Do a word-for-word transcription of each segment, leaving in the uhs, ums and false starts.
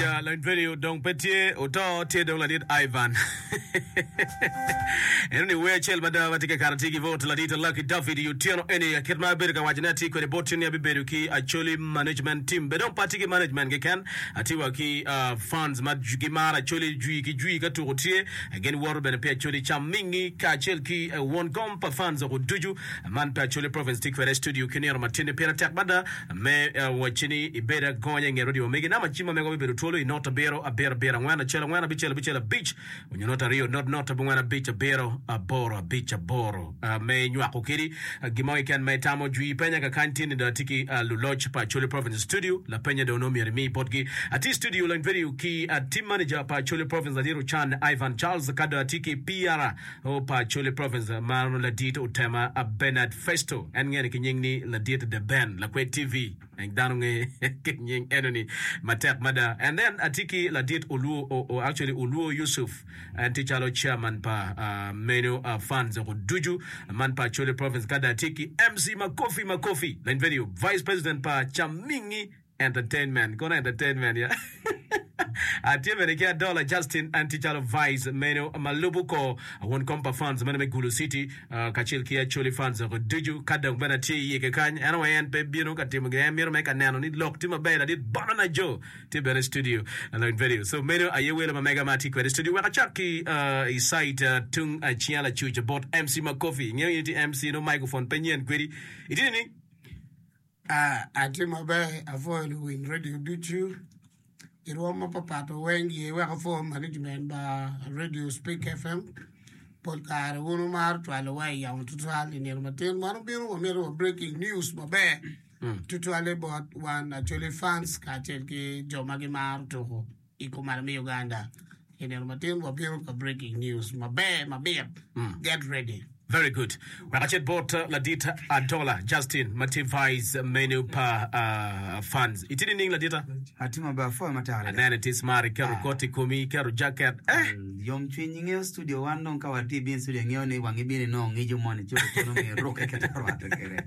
Lony radio dong pe tye oto tye dong ladit Ivan. Eno ni wer acel mada ma tye ka kato tye ki bot ladit Lucky David i otyeno eni kit ma abedo ka waco ne atye kwede bot ni abibedo ki Acholi management team be dong pe atye ki management keken atye wa ki uh, fans ma gimaro Acholi jwi ki jwi ka tuko tye gin woto bene pi Acholi cam mingi kacel ki uh, won kom pa fans oko ducu man pe Acholi province tye kwede studio ki nino matini pire tek mada me uh, wacci ni ibed agonya i nget radio megi namba cim ma mego bibedo twolo i not abiro abiro abiro angwen acel angwen abicel abicel abic onyo not aryo not not abongwen abic abiro aboro abic aboro uh, me nywako kedi uh, gimo keken ma itamo jwi penya kakany tye ni dong atye ki uh, luloc pa Acholi Province Studio lapenya dong nongo myero imi botgi atye i studio lony video ki uh, team manager pa Acholi Province ladit Ochan Ivan Charles ka dong atye ki P R o pa Acholi Province ma ladit Otema uh, Bernard Festo en ngene ki nying ni ladit The Ben Lakwed T V dano nge ki nying enoni matek mada. And then atye ki ladit Olwo o, o, actually Olwo Yusuf en tye calo chairman pa uh, meno uh, funds oko ducu man pa Acholi Province ka dong atye ki M C Makofi Makofi lany video vice president pa Chamingi Entertainment kono entertainment ya atye bene ki Adola Justin en tye calo vice meno ma lubo ko won kom pa fans meno me Gulu City uh, kacel ki Acholi fans oko ducu ka dong bene atye iye kekany en aye en pe bino ka timo gin en mito me ka neno ni lok tye maber ladit Bonana Joe tye bene studio alone video so meno aye welo ma mega ma atye kwede studio wek acak ki uh, i site uh, tung acinga lacuc bot M C Makofi ingeyo in tye M C no microphone pe nyen kwedi itye ni Ah, atye maber apwoyo luwiny radio ducu i rwom mapapat weng ye wek apwo management ba radio Speak F M pol kare wun wumaro cwalowa i yamo tutwal i nino matin wan obino wamito wa breaking news maber tutwale bot wan Acholi fans kacel ki jo ma gimaro tuko i kumalo me Uganda i nino matin wabino ka breaking news maber mabit. Get ready. Very good. Wek acit bot uh, ladit Adola Justin ma tye vice menu pa uh, fans. Itye nining ladita? Atye maber apwoyo matek adada. Anene tye smart iketo koti i komi iketo jacket. Eh! Yomcwiny ingeyo studio wan dong ka watye ibino i studio ingeyo ni wang ibino inongo ngico moni ci otuno mi irukke kit arwatte kwede.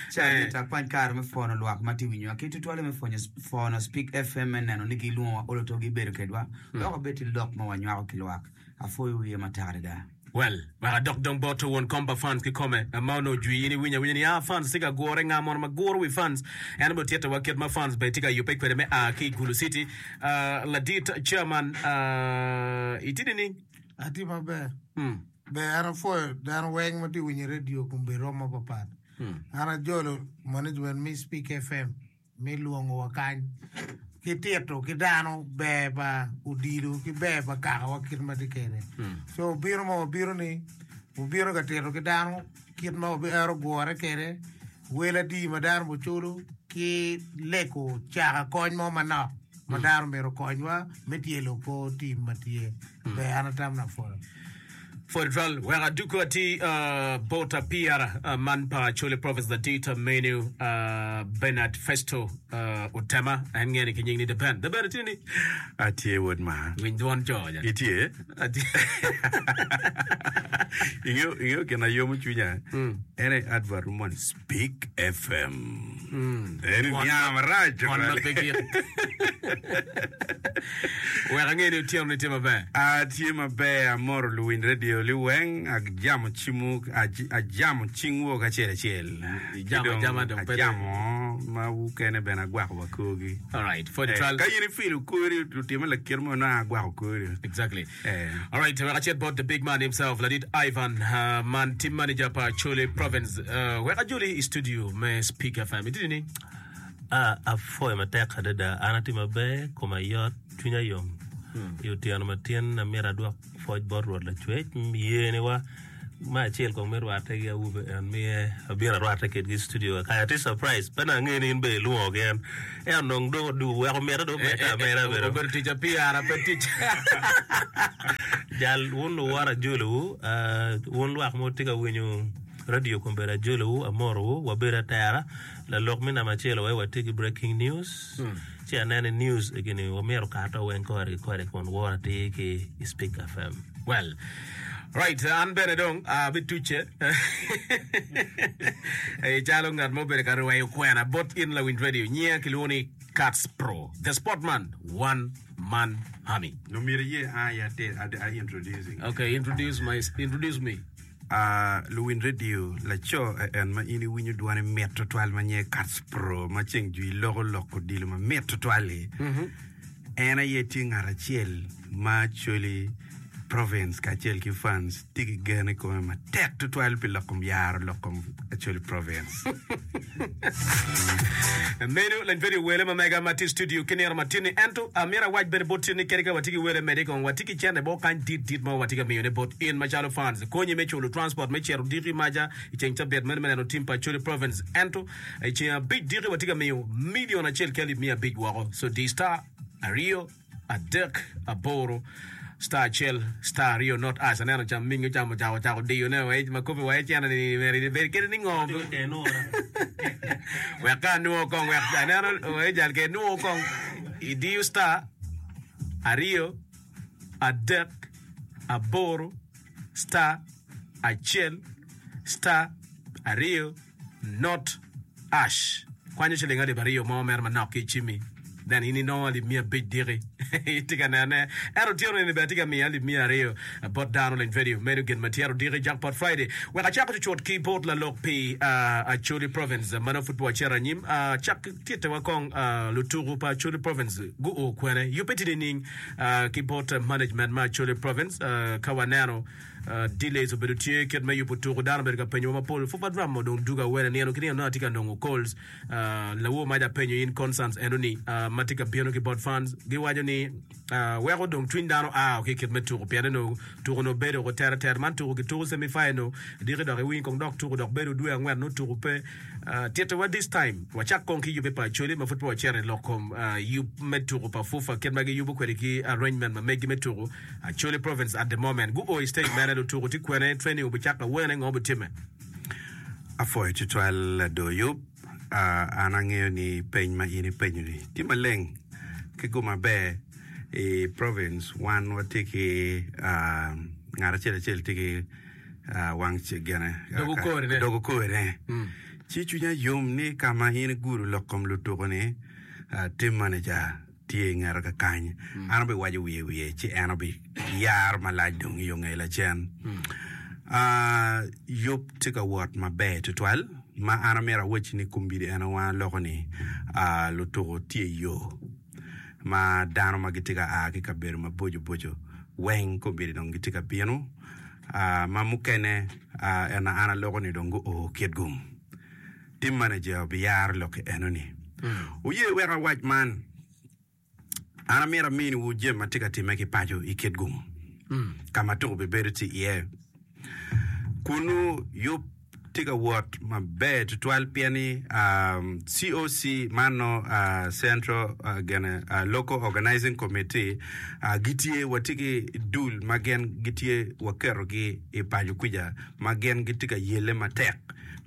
Ci amito akwany kare me pwono lwak ma tye winyowa ki tutwalle me pwonyo pwono Speak F M me neno ni gilwongowa olo to gibedo kedwa wek wabed ki lok ma wanywako ki lwak. Apwoyo wiye matek adada. Well, wek adok dong bot won kom pa fans kikome ma onongo jwi in iwinyo awinya ni ah fans tye ka gure nga mono ma guro wi fans en obedo titowa kit ma fans bene tye ka yubbe kwede me a ki i Gulu City. Uh, ladit chairman uh, itye nining? Atye maber. Mm. Ber an apwoyo dano weng ma tye winyo radio kombeddi rwom mapapat. An ajolo management me Speak F M me lwongowa kany ki tito ki dano ber pa odilo ki ber pa kakawa kit ma tye kwede. So obino ma wabino ni obino ka tito ki dano kit ma wabihero gure kwede wel adi ma dano buculo ki leko caka kony mo manok ma dano myero okonywa me tyelo kor tim ma tye ber an atam na apwoyo. Federal wek aduko ati uh, bot P R uh, man pa Acholi Province ladit menu uh, Bernard Festo uh, Otema en ngene ki nying ni The Ben. The Ben itye ni Atye wod ma. Winj dwon co ja. Itye? Atye. Ingeo ingeo gin ayomo cwinya en aye advert mo ni Speak F M. En Dwon niang ma- marac dwon ma pe gik. Wek ange ni otyeno ni tye maber. Atye maber amoro luwiny radio liweng ajamo cimu aj- ajamo cingwu kacel acel. Ijamo Ki dong ajama dong pe dong. Ajamo ma wukene bene agwako wa korgi. All right, Eh, Federal. ka in ifilo kori otime lakit mo nongo agwako kori. Exactly. Eh. All right, wek acit bot the big man himself, ladit Ivan, uh, man team manager pa Acholi Province. Uh, wek ajoli i studio me Speak F M. Itye ni? Ah, apwoyo matek adada an atye maber koma yot cwinya yom i otyeno matin amito adwok pwoc bot Rwot Lacwec yeniwa me acel kong me rwatte ki awobe en miye abino arwatte kedgi i studio kaya atye surprise pe na angeyo ni in bene ilwongo en ento dong dong odugo weko mitte dong omedde ameda bedo Obedo tic a P R pe tic. Jal wun luwot ajolowu uh, wun lwak ma wutye ka winyo radio kombeddi ajolowu amorowu wabedo atera lalok me namba acel wai watye ki breaking news ci aneno ni news egini wamyero kato weng kore ki kore kun woro atir ki i Speak F M. Well, right, an bene dong abitucce calo ngat mo obedo ka rweyo kwena bot in lawiny radio nyinga kilwongo ni Cats Pro the Sportman one man army. No myero iye an aye atir a introducing. Okay, introduce my introduce me. Uh, luwin radio laco en ma in iwinyo dwane mit tutwal ma nyinge Cats Pro ma ceng jwi loko lok odilo ma mit tutwal-li. En aye tye ngat acel ma Acholi Province kacel ki fans tye ki gen i kome matek tutwal pi lok kom yaro lok kom Acholi Province. Meno lany bedo i wele ma mega ma tye i studio ki nino matin-ni. Ento amyero awac bene bot in ni kadi ka watye ki wele mede kong watye ki cente mo kany dit dit ma watye ka miyone bot in macalo fans. Konyi me culo transport me cito diki maca i ceng cabit meno me neno tim pa Acholi Province. Ento i ceng abic diki watye ka miyo million acel ki alip miya abic woko. So di star aryo adek aboro star acel star aryo not us. Aneno cam mingi ocamo ocako ocako diyo ne wa ma kopi wa ecene ni meri bed kede ni ngo wek ka anwo kong wek aneno wa ejal ke nwo kong idiyo star aryo adek aboro star acel star aryo not ash kwanyo ciling alip aryo mo mere manok ki i cimmi then in inongo alip miya abic diki itye ka nene ento otyeno ni bene atye ka miyo alip miya aryo bot dano leny video meno gin ma tyero diki jackpot friday wek acako cucut ki bot lalok pi uh, Acholi province ma nongo pud pe wacito anyim uh, cak tittewa kong uh, lutuku pa Acholi province guo kwene yubbe tye nining uh, ki bot management ma Acholi province uh, ka waneno uh, delays obedo tye kit me yubo tuku dano obedo ka penyowa mapol Fufa Drum odong dugo awene nino ki nino nongo atye ka nongo calls uh, lawo maca apenyo in concerns eno ni uh, ma tye ka bino ki bot fans giwaco ni uh, weko dong cwiny dano a ki kit me tuku pien eno tuku no bedo ko tere tere man tuku ki tuku semi final diki dok iwiny kong dok tuku dok bedo dwe angwen no tuku pe uh, tittewa this time wacak kong ki yubbe pa Acholi ma pud pe wacito i lok kom uh, yub me tuku pa Fufa kit ma giyubo kwede ki arrangement ma megi me tuku Acholi province at the moment guo i stage mene lutuku tye kwene training obicako awene ngo obitimme Apwoyo tutwal ado yub uh, an angeyo ni peny ma in ipenyo ni tye maleng ki gum maber i province wan watye ki uh, ngat acel acel tye ki uh, wang ce- gene Dogo korine. dogo korine ci cwinya yom ni ka ma in igudo lok kom lutuku ni uh, team manager tye i ngete kakany an obiwaco wiye wiye ci en obiyaro malac dong i yo nge lacen uh, yub tye ka wot maber tutwal ma an amyero awacci ni kombeddi en wan aloko ni uh, lutuku tye i yo ma dano ma gitye ka a ki kabedo maboco boco weng kombeddi dong gitye ka bino uh, ma mukene uh, en an aloko ni dong guo Kitgum team manager obiyaro lok enoni oye wek awac man an amyero aminiwu jami ma tye ka timme ki paco i Kitgum ka ma tuku bibedo tye iye kunu yub tye ka wot maber tutwal pien ni um, C O C man no uh, Central uh, gene, uh, Local Organizing Committee uh, gitye watye ki dul ma gin gitye waketogi i paco kuca ma gin gitye ka yelle matek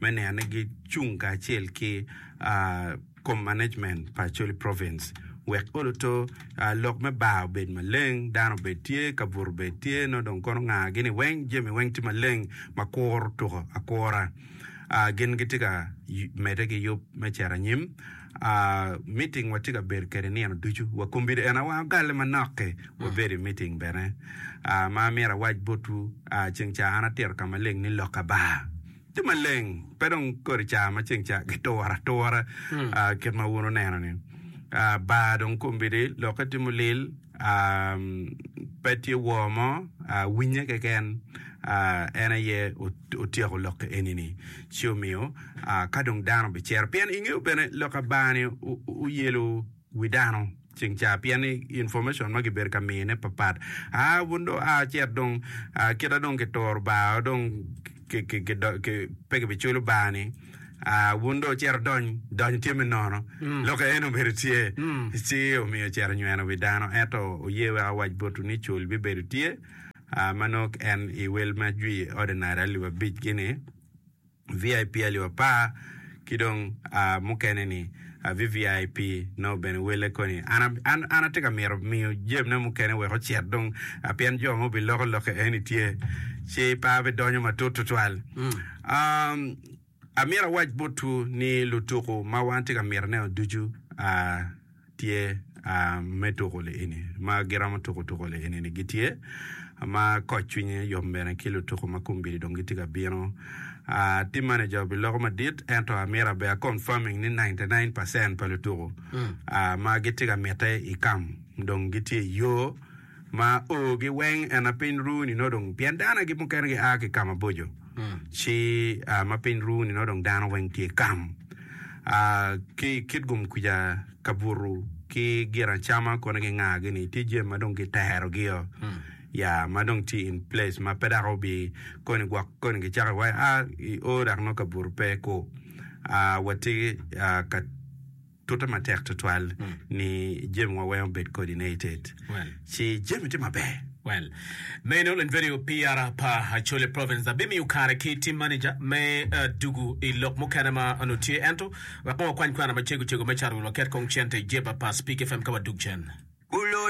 me neno ni gicung kacel ki uh, kom management pa Acholi Province wek oloto uh, lok me bar obed maleng dano obed tye kabuto obed tye no dong kono nga gini weng jami weng tye maleng ma kuro tuko akura uh, gin gitye ka y- medde ki yub me cito anyim uh, meeting watye ka bedo kede nino ducu wa kombeddi en awa ogale manok-ki wabedo i meeting bene uh, ma myero awac botwu uh, ceng ca an atito ka maleng ni lok bar tye maleng pe dong kodi ca ma ceng ca gituro atura uh, kit ma wun oneno ni uh, bar dong kombeddi lokke tye mulil um, pe tye wor mo uh, winye keken uh, en aye ot- otyeko lokke eni-ni ci omiyo uh, ka dong dano bicero pien ingeo bene lok bar-ni o- o- oyelo wi dano ceng ca pien ni information ma gibedo ka miyone papat a wun do a cet dong uh, kita dong kituro bar dong ki, ki, ki, do, ki, pe kibiculo bar ni uh, wun do cito dony dony tye me nono lokke en obedo tye ci omiyo cito nyweno wi dano ento oye wek awac botwu ni cul bibedo tye uh, ma nongo en i wel ma jwi ordinary alip abic gini V I P alip apar ki dong uh, mukene ni uh, V V I P no bene wele koni an, an, an atye ka mito miyo jamine mukene wek ocit dong uh, pien jo mo biloko lokke eni tye ci pe abidonyo matut tutwal um, amyero awac botwu ni lutuku ma wan tye ka mito neno ducu uh, tye me tuko li-eni ma giromo tuko tuko li-eni-ni gitye ma koc cwinye yom bene ki lutuko ma kombeddi dong gitye ka bino. Team manager obiloko madit ento amito aber a confirming ni ninety nine percent pa lutuko ma gitye ka mitte i camp dong gitye i yo ma o gi weng en na piny ru ni nongo dong pien dano gi mukene gia ki ka maboco ci ma piny ru ni nongo dong dano weng tye i kam ki i Kitgum kuca kabuto ki gin acama kono ki nga gini tye jami ma dong kitero gi o ya ma dong tye in place ma pe dok obi koni gwok koni kicako iwaci a i o dok nongo kabuto pe ku watye ka tute matek tutwal ni jami wa weng obed coordinated ci jami tye maber. Well, meno lony vedio PR pa Acholi Province. Abimiyo kare ki team manager me dugu i lok mukene ma onongo tye ento wek kong wakwany kwena macego cego me caro wi waket kong cente i jeba pa Speak FM ka wadug cen. Gulo